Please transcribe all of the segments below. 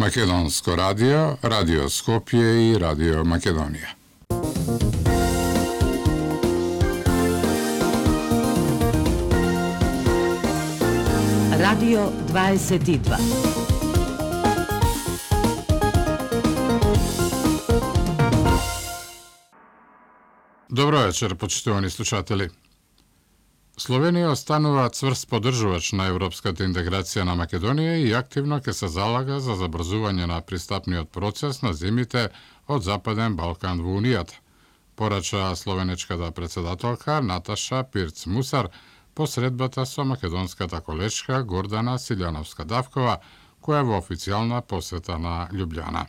Македонско радио, Радио Скопје и Радио Македонија. Радио 22. Добро вечер, почитувани слушатели. Словенија останува цврст поддржувач на европската интеграција на Македонија и активно ќе се залага за забрзување на пристапниот процес на земјите од Западен Балкан во Унијата, порача словенечката председателка Наташа Пирц-Мусар по средбата со македонската колешка Гордана Силјановска-Давкова, која е во официјална посета на Љубљана.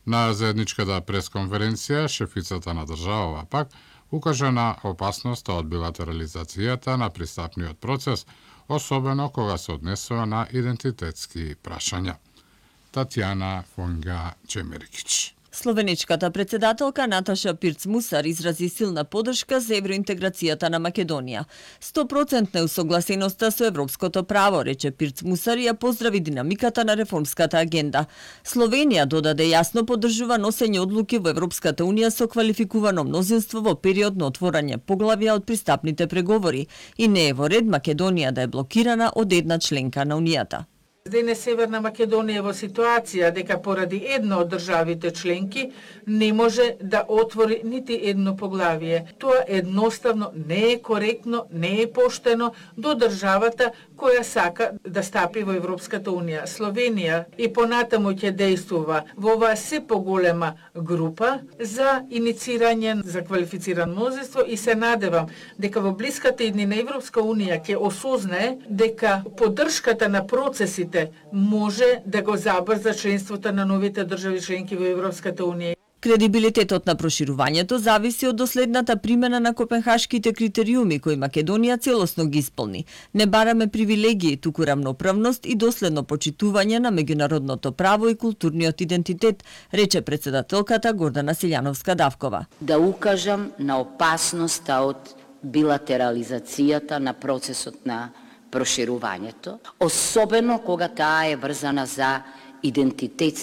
На заедничката пресконференција, шефицата на државава пак укажа на опасноста од билатерализацијата на пристапниот процес, особено кога се однесува на идентитетски прашања. Татјана Фонга-Чемерикич. Словеничката председателка Наташа Пирц-Мусар изрази силна поддршка за евроинтеграцијата на Македонија. 100% усогласеноста со европското право, рече Пирц-Мусар и ја поздрави динамиката на реформската агенда. Словенија додаде јасно поддржува носење одлуки во Европската унија со квалификувано мнозинство во период на отворање поглавја од пристапните преговори и не е во ред Македонија да е блокирана од една членка на Унијата. Денес Северна Македонија е во ситуација дека поради една од државите членки не може да отвори нити едно поглавие. Тоа едноставно не е коректно, не е поштено до државата која сака да стапи во Европската унија. Словенија и понатаму ќе действува во оваа се поголема група за иницирање за квалифицирано мнозинство и се надевам дека во блиската иднина Европска унија ќе осознае дека поддршката на процесите може да го забрза членството на новите држави членки во Европската унија. Кредибилитетот на проширувањето зависи од доследната примена на копенхашките критериуми кои Македонија целосно ги исполни. Не бараме привилегии, туку рамноправност и доследно почитување на меѓународното право и културниот идентитет, рече председателката Гордана Силјановска-Давкова. Да укажам на опасноста од билатерализацијата на процесот на проширувањето, особено кога таа е врзана за идентитетски